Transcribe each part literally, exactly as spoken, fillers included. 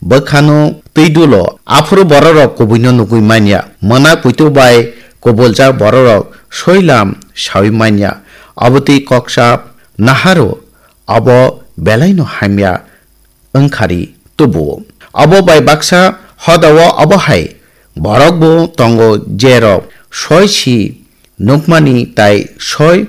bwkhano twi dulo, aphuru bororok kubuino nugwi manya. Mwnak puitu bai kubuljak bororok soilam saui manya. Abotwi koksa naharo, abo belaino hamya wngkhari tubuo. Abo bai baksa hodao abo hai borokbo tongo, jerok soi si nukmani tai soi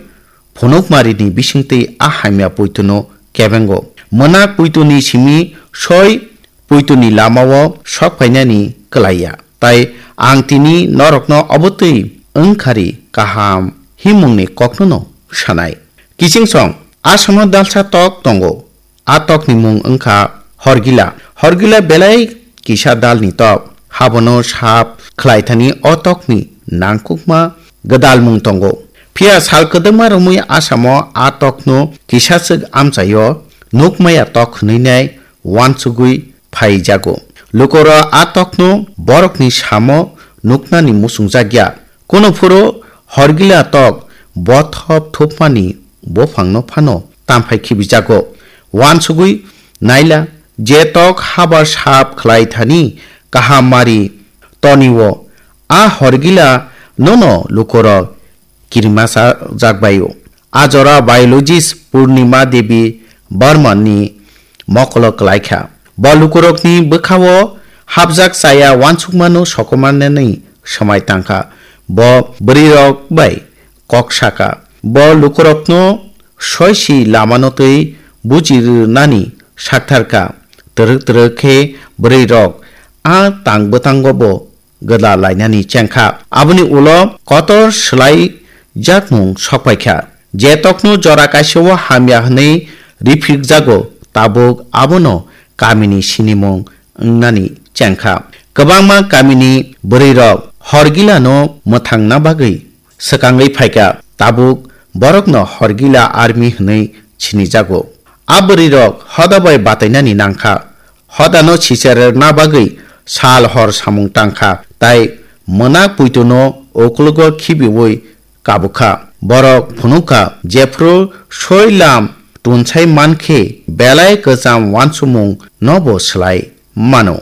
phunukmarini bisingtwi a hamya puituno kebengo. Mwnak puituni simi soi puituni lamao sok phainani kwlaiya. Tai ang tini norokno obotwi wngkhari kaham himungni koknono sanai. Kichingsong, Assamo dalsa tok tongo. A tokni mung wngkha Horgila. Horgila belai kisa dalni tok. Habono sap khlaithani o tokni nangkukma gwdalmung tongo. Phiya sal kwdwkma romwi Assamo a tokno kisaswk amchaio nukmaya tok hwnwi nai uansugwi phaijago. Lukorok a tokno borokni samo nuknani muchungjakya. Kunuphuru Horgila tok bothop thupmani buphangno phano tamphai khibijago. Uansugwi naila, je tok haba sap khlai thani kaham mari tonio, a Horgila nono lukorok kirimasajak baio. A jora biologist Purnima Devi Barman ni mokolo kwlaikha. Bo lukurokni bwkhao hapjak chaya uansukmano sokomornani swmai tangkha. Bo bwrwirok bai kok sakha. Bo lukurokno soisi lamano twi buji rwnani saktharkha. Twrwk twrwk khe bwrwirok a tang bwtango bo gwdal lainani chengkha. Aboni ulo kotor swlaijakmung sokpaikha. Je tokno jora kaisao hamya hwnwi riphikjago, tabuk abono kamini sinimung wngnani chengkha. Kwbangma kamini bwrwirok Horgilano mwthangna bagwi swkangwi phaikha, tabuk borokno Horgila army hwnwi sinijago. A bwrwirok hoda bai batainani nangkha. Hodano sicherna bagwi sal hor samung tangkha, tai mwnak puituno uklogo khibiwi kabukha. Borok phunukha, jephru soi lam tunsai mankhe belai kwcham uansukmung nobo swlai mano.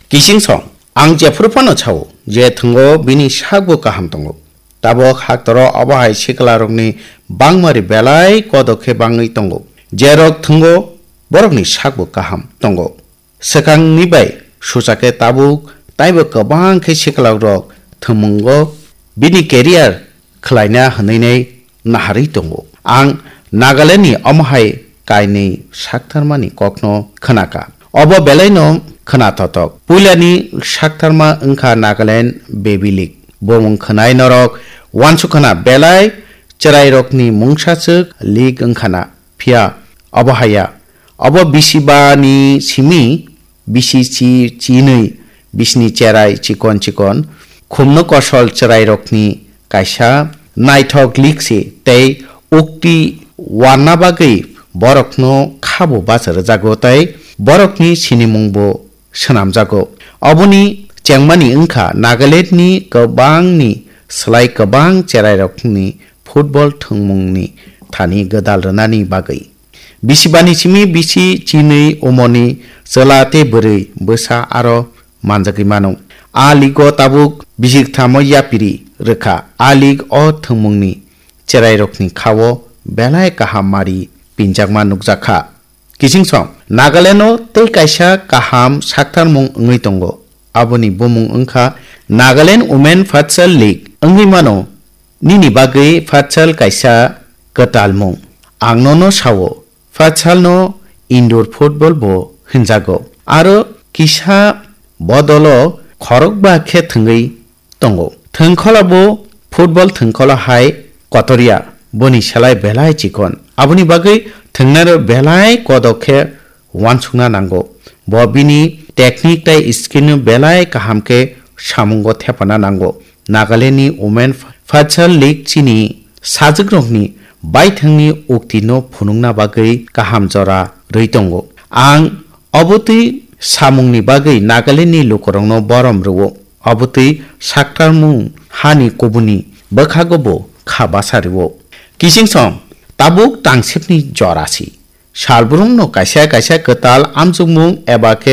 Kichingsong, ang jephru phano sao je thwngo bini sakbo kaham tongo. Tabuk haktoro obo hai siklarokni bangmari belai kodok khe bangwi tongo. Jerok thwngo borokni sakbo kaham tongo. Swkangni bai suchakhe tabuk taibo kwbang khe siklarok thwngmungo bini career khlaina hwnwi nai naharwi tongo. Ang Nagalandni omo hai kainwi saktharmani kokno khwnakha. Obo belaino khwnathothok. Puilani saktharma wngkha Nagaland Baby League. Bo mung khwnai norok uansukha na, belai chwrairokni mungsaswk league wngkha na. Phiya obo haya. Obo bisi ba ni simi bisi chi chinwi bisini cherai chikon chikon khumno kosol chwrairokni kaisa naithok league se tei ukti warna bagwi borokno khabo bacha rwjago tei borokni sinimungbo swnamjago. Oboni chengmani wngkha Nagalandni kwbangni slai kwbang cherairokni football thwngmungni thani gwdal rwnani bagwi. Bisibani simi bisi chinwi umorni chwla tei bwrwi bwsa aro manjagwi mano. A ligo tabuk bisik thamo yapiri rwkha. A lig o thwngmungni cherairokni khao belai kaham mari pinjakma nukjakha. Kichingsong, Nagaland o tei kaisa kaham saktharmung wngwi tongo. Aboni bumung wngkha Nagaland Women Futsal League wngwi mano. Nini bagwi futsal kaisa kwtalmung. Ang nono sao, futsalno indoor football bo hwnjago. Aro kisa bodolo khorokba khe thwngwi tongo. Thwngkholabo football thwngkholo hai kotorya, boni selai belai chikon. Aboni bagwi thwngnairok belai kodok khe uansukna nango. Bo bini technique tei skill no belai kaham khe samungo thepana nango. Nagaland ni Women Futsal League chini sajwkrokni baithangni uktino phunukna bagwi kaham jora rwi tongo. Ang obotwi samungni bagwi Nagaland ni lukurokno borom rwo. Obotwi saktarmung hani kubuni bwkhago bo kha basa rwo. Kichingsong tabuk tangsibni jora si. Salbrumno kaisa kaisa kwtal amchukmung eba khe